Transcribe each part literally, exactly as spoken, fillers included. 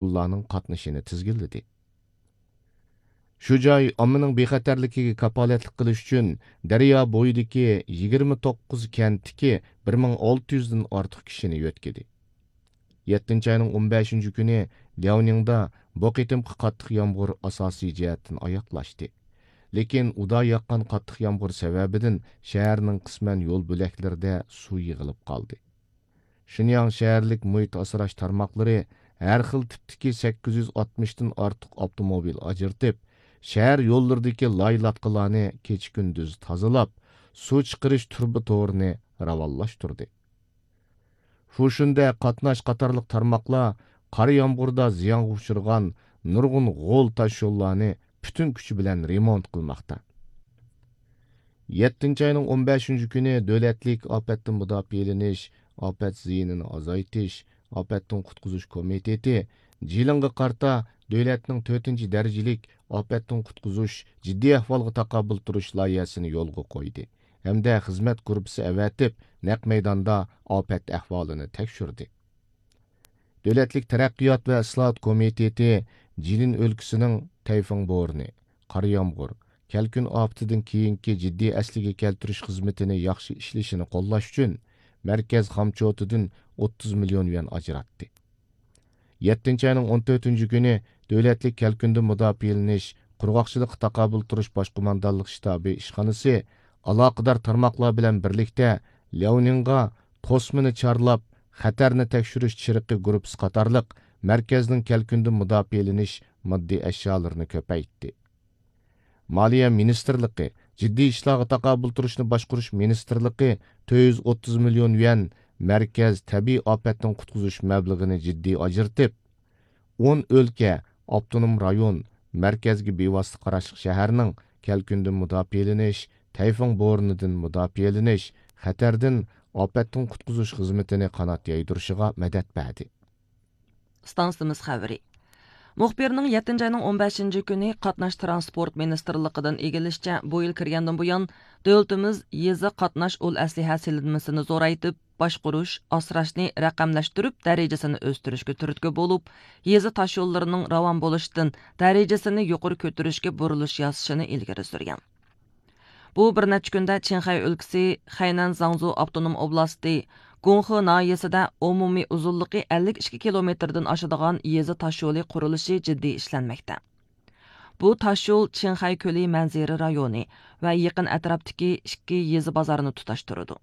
ئۇلارنىڭ قاتنىشىنى تىزگىنلىدى. شۇ جاي ئاممىنىڭ بىخەتەرلىكىگە كاپالەتلىك قىلىش ئۈچۈن دەريا بويىدىكى يىگىرمە توققۇز كەنتتىكى بىر مىڭ ئالتە يۈزدىن ئارتۇق كىشىنى يۆتكىدى. يەتتىنچى ئاينىڭ ئون بەشىنچى كۈنى لياۋنىڭدا بۇ قېتىمقى قاتتىق يامغۇر ئاساسىي جەھەتتىن ئاياغلاشتى. لېكىن ئۇدا ياغقان قاتتىق يامغۇر سەۋەبىدىن شەھەرنىڭ قىسمەن يول بۆلەكلىرىدە سۇ يىغىلىپ قالدى. شېنياڭ شەھەرلىك مۇھىت ئاسراش تارماقلىرى ھەر خىل تىپتىكى سەككىز يۈز ئاتمىشتىن ئارتۇق ئاپتوموبىل ئاجرىتىپ، شەھەر يوللىرىدىكى لاي-لاتقىلارنى كېچە-كۈندۈز تازىلاپ، سۇ چىقىرىش تۇرۇبا تورىنى راۋانلاشتۇردى. فۇشۈندە قاتناش قاتارلىق تارماقلار قار يامغۇردا زىيانغا ئۇچرىغان نۇرغۇن غول تاشيوللارنى پۈتۈن كۈچى بىلەن رېمونت قىلماقتا. يەتتىنچى ئاينىڭ ئون بەشىنچى كۈنى دۆلەتلىك ئاپەتتىن مۇداپىئەلىنىش، ئاپەت زىيىنىنى ئازايتىش، ئاپەتتىن قۇتقۇزۇش كومىتېتى جىلىڭغا قارىتا دۆلەتنىڭ تۆتىنچى دەرىجىلىك ئاپەتتىن قۇتقۇزۇش جىددىي ئەھۋالغا تاقابىل تۇرۇش لايىھەسىنى يولغا قويدى ھەمدە خىزمەت گۇرۇپپىسى ئەۋەتىپ، نەق مەيداندا ئاپەت ئەھۋالىنى تەكشۈردى. دۆلەتلىك تەرەققىيات ۋە ئىسلاھات كومىتېتى جىلىن ئۆلكىسىنىڭ تەيفۇڭ بورىنى، قار يامغۇر، كەلكۈن ئاپىتىدىن كېيىنكى جىددىي ئەسلىگە كەلتۈرۈش خىزمىتىنى ياخشى ئىشلىشىنى قوللاش ئۈچۈن مەركەز خامچوتىدىن ئوتتۇز مىليون يۈەن ئاجراتتى. يەتتىنچى ئاينىڭ ئون تۆتىنچى كۈنى دۆلەتلىك كەلكۈندىن مۇداپىئەلىنىش، قۇرغاقچىلىققا تاقابىل تۇرۇش باش قوماندانلىق شتابى ئىشخانىسى ئالاقىدار تارماقلار بىلەن بىرلىكتە لياۋنىڭغا توسمىنى چارلاپ، خەتەرنى تەكشۈرۈش چىرىقى گۇرۇپپىسى قاتارلىق مەركەزنىڭ كەلكۈندىن مۇداپىئەلىنىش ماددىي ئەشيالىرىنى كۆپەيتتى. مالىيە مىنىستىرلىقى، جىددىي ئىشلارغا تاقابىل تۇرۇشنى باشقۇرۇش مىنىستىرلىقى تۆت يۈز ئوتتۇز مىليون يۈەن مەركەز تەبىئىي ئاپەتتىن قۇتقۇزۇش مەبلىغىنى جىددىي ئاجرىتىپ، ئون ئۆلكە، ئاپتونوم رايون، مەركەزگە بىۋاسىتە قاراشلىق شەھەرنىڭ كەلكۈندىن مۇداپىئەلىنىش، تەيفۇڭ بورىنىدىن مۇداپىئەلىنىش، خەتەردىن، ئاپەتتىن قۇتقۇزۇش خىزمىتىنى قانات يايدۇرۇشىغا مەدەت بەردى. ئىستانسىمىز خەۋىرى. مۇخبىرنىڭ يەتتىنچى ئاينىڭ ئون بەشىنچى كۈنى قاتناش تىرانسپورت مىنىستىرلىقىدىن ئىگىلىشىچە، بۇ يىل كىرگەندىن بۇيان، دۆلىتىمىز يېزا قاتناش ئۇل ئەسلىھە سېلىنمىسىنى زورايتىپ، باشقۇرۇش، ئاسراشنى رەقەملەشتۈرۈپ، دەرىجىسىنى ئۆستۈرۈشكە تۈرتكە بولۇپ، يېزا تاشيوللىرىنىڭ راۋان بولۇشىدىن دەرىجىسىنى يۇقىرى كۆتۈرۈشكە بۇرۇلۇش ياسىشىنى ئىلگىرى سۈرگەن. بۇ بىر نەچچە كۈندە چىڭخەي ئۆلكىسى، خەينەن زاڭزۇ ئاپتونوم ئوبلاستى، گۇڭخې ناھىيەسىدە ئومۇمىي ئۇزۇنلۇقى ئەللىك ئىككى كىلومېتىردىن ئاشىدىغان يېزا تاشيولى قۇرۇلۇشى جىددىي ئىشلەنمەكتە. بۇ تاشيول چىڭخەي كۆلى مەنزىرە رايونى ۋە يېقىن ئەتراپتىكى ئىككى يېزا بازارنى تۇتاشتۇرىدۇ.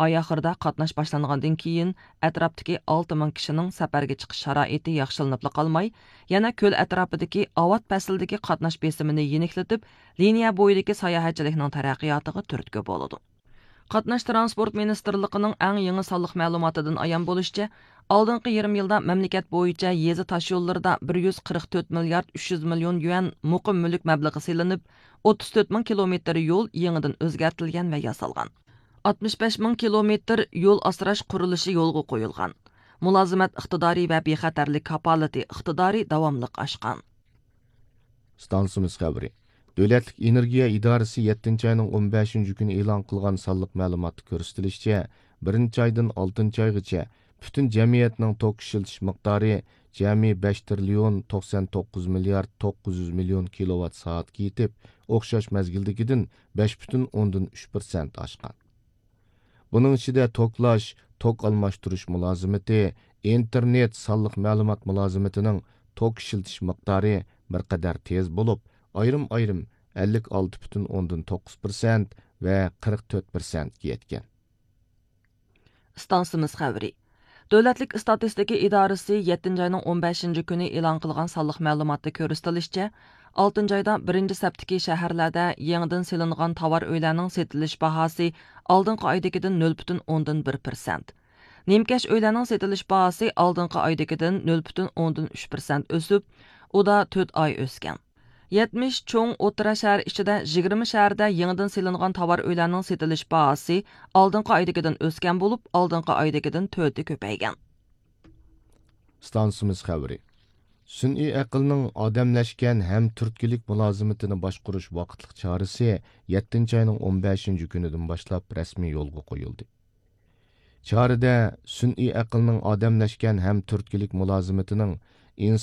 ئاي ئاخىرىدا قاتناش باشلانغاندىن كېيىن، ئەتراپتىكى ئالتە مىڭ كىشىنىڭ سەپەرگە چىقىش شارائىتى ياخشىلىنىپلا قالماي، يەنە كۆل ئەتراپىدىكى ئاۋات پەسلىدىكى قاتناش بېسىمىنى يېنىكلىتىپ، لىنىيە بويىدىكى ساياھەتچىلىكنىڭ تەرەققىياتىغا تۈرتكە بولىدۇ. قاتناش تىرانسپورت مىنىستىرلىقىنىڭ ئەڭ يېڭى سانلىق مەلۇماتىدىن ئايان بولۇشىچە، ئالدىنقى يېرىم يىلدا مەملىكەت بويىچە يېزا تاشيوللىرىدا بىر يۈز قىرىق تۆت مىليارد ئۈچ يۈز مىليون يۈەن مۇقىم مۈلۈك مەبلىغى سېلىنىپ، ئوتتۇز تۆت مىڭ كىلومېتىر يول يېڭىدىن ئۆزگەرتىلگەن ۋە ياسالغان. ئاتمىش بەش مىڭ كىلومېتىر يول ئاسراش قۇرۇلۇشى يولغا قويۇلغان. مۇلازىمەت ئىقتىدارى ۋە بىخەتەرلىك كاپالىتى ئىقتىدارى داۋاملىق ئاشقان. ئىستانسىمىز خەۋىرى. دۆلەتلىك ئېنېرگىيە ئىدارىسى يەتتىنچى ئاينىڭ ئون بەشىنچى كۈنى ئېلان قىلغان سانلىق مەلۇماتتا كۆرسىتىلىشىچە، بىرىنچى ئايدىن ئالتىنچى ئايغىچە پۈتۈن جەمئىيەتنىڭ توك ئىشلىتىش مىقدارى جەمئىي بەش تىرىليون توقسان توققۇز مىليارد توققۇز يۈز مىليون كىلوۋات سائەتكە يېتىپ، ئوخشاش مەزگىلدىكىدىن بەش پۈتۈن ئوندىن ئۈچ پىرسەنت ئاشقان. بۇنىڭ ئىچىدە توكلاش، توك ئالماشتۇرۇش مۇلازىمىتى، ئىنتېرنېت سانلىق مەلۇمات مۇلازىمىتىنىڭ توك ئىشلىتىش مىقدارى بىر قەدەر تېز بولۇپ، ئايرىم-ئايرىم ئەللىك ئالتە پۈتۈن ئوندىن توققۇز پىرسەنت ۋە قىرىق تۆت پىرسەنتكە يەتكەن. ئىستانسىمىز خەۋىرى. دۆلەتلىك ئىستاتىستىكا ئىدارىسى يەتتىنچى ئاينىڭ ئون بەشىنچى كۈنى ئېلان قىلغان سانلىق مەلۇماتتا كۆرسىتىلىشىچە، ئالتىنچى ئايدا بىرىنچى سەپتىكى شەھەرلەردە يېڭىدىن سېلىنغان تاۋار ئۆيلەرنىڭ سېتىلىش باھاسى ئالدىنقى ئايدىكىدىن نۆل پۈتۈن ئوندىن بىر پىرسەنت، نىمكەش ئۆيلەرنىڭ سېتىلىش باھاسى ئالدىنقى ئايدىكىدىن نۆل پۈتۈن ئوندىن ئۈچ پىرسەنت ئۆسۈپ، ئۇدا تۆت ئاي ئۆسكەن. يەتمىش چوڭ ئوتتۇرا شەھەر ئىچىدە يىگىرمە شەھەردە يېڭىدىن سېلىنغان تاۋار ئۆيلەرنىڭ سېتىلىش باھاسى ئالدىنقى ئايدىكىدىن ئۆسكەن بولۇپ، ئالدىنقى ئايدىكىدىن تۆتى كۆپەيگەن. ئىستانسىمىز خەۋىرى. سۈنئىي ئەقىلنىڭ ئادەملەشكەن ھەم تۈرتكىلىك مۇلازىمىتىنى باشقۇرۇش ۋاقىتلىق چارىسى يەتتىنچى ئاينىڭ ئون بەشىنچى كۈنىدىن باشلاپ رەسمىي يولغا قويۇلدى. چارىدە سۈنئىي ئەقىلنىڭ ئادەملەشكەن ھەم تۈرتكىلىك مۇلازىمىتىنىڭ ئىنسان